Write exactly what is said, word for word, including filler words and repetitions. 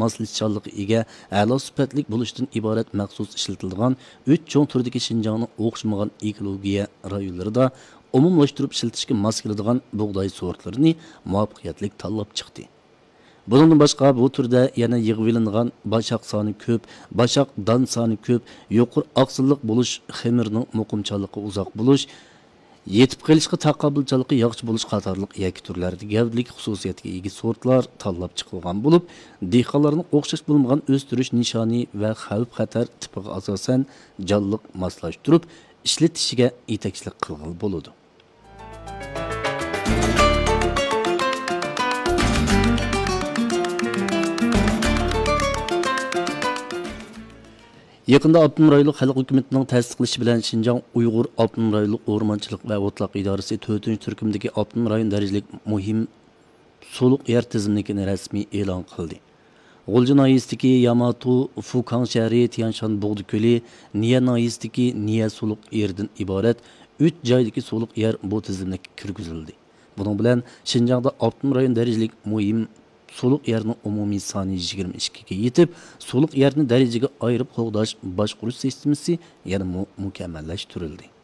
ماسلىشىشچانلىققا ئىگە، ئەلا سۈپەتلىك بولۇشتىن ئىبارەت مەخسۇس ئىشلىتىلىدىغان ئۈچ چوڭ تۈردىكى شىنجاڭنىڭ ئوخشىمىغان ئېكولوگىيە رايونلىرىدا ئومۇملاشتۇرۇپ ئىشلىتىشكە ماس كېلىدىغان بۇغداي سورتلىرىنى مۇۋەپپەقىيەتلىك تاللاپ چىقتى. بۇنىڭدىن باشقا، بۇ تۈردە يەنە يىغىۋېلىنغان باشاق سانى كۆپ، باشاق دان سانى كۆپ، يۇقىرى ئاقسىللىق بولۇش، خېمىرنىڭ مۇقىمچانلىقى ئۇزاق بولۇش، يېتىپ قېلىشقا تاقابىلچانلىقى ياخشى بولۇش قاتارلىق يەككە تۈرلەردە گەۋدىلىك خۇسۇسىيەتكە ئىگە سورتلار تاللاپ چىقىلغان بولۇپ، دېھقانلارنىڭ ئوخشاش بولمىغان ئۆستۈرۈش نىشانى ۋە خەۋپ-خەتەر تىپىغا ئاساسەن جانلىق ماسلاشتۇرۇپ ئىشلىتىشىگە يېتەكچىلىك قىلغىلى بولىدۇ. يېقىندا ئاپتونوم رايونلۇق خەلق ھۆكۈمىتىنىڭ تەستىقلىشى بىلەن، شىنجاڭ ئۇيغۇر ئاپتونوم رايونلۇق ئورمانچىلىق ۋە ئوتلاق ئىدارىسى تۆتىنچى تۈركۈمدىكى ئاپتونوم رايون دەرىجىلىك مۇھىم سۇلۇق يەر تىزىملىكىنى رەسمىي ئېلان قىلدى. غۇلجا ناھىيەسىدىكى ياماتو، فۇكاڭ شەھىرى، تيەنشان بۇغدا كۆلى، نىيە ناھىيەسىدىكى نىيە سۇلۇق يېرىدىن ئىبارەت ئۈچ جايدىكى سۇلۇق يەر بۇ تىزىملىككە كىرگۈزۈلدى. بۇنىڭ بىلەن شىنجاڭدا ئاپتونوم رايون دەرىجىلىك مۇھىم سۇلۇق يەرنىڭ ئومۇمىي سانى يىگىرمە ئىككىگە يېتىپ، سۇلۇق يەرنى دەرىجىگە ئايرىپ قوغداش، باشقۇرۇش سىستېمىسى يەنىمۇ مۇكەممەللەشتۈرۈلدى.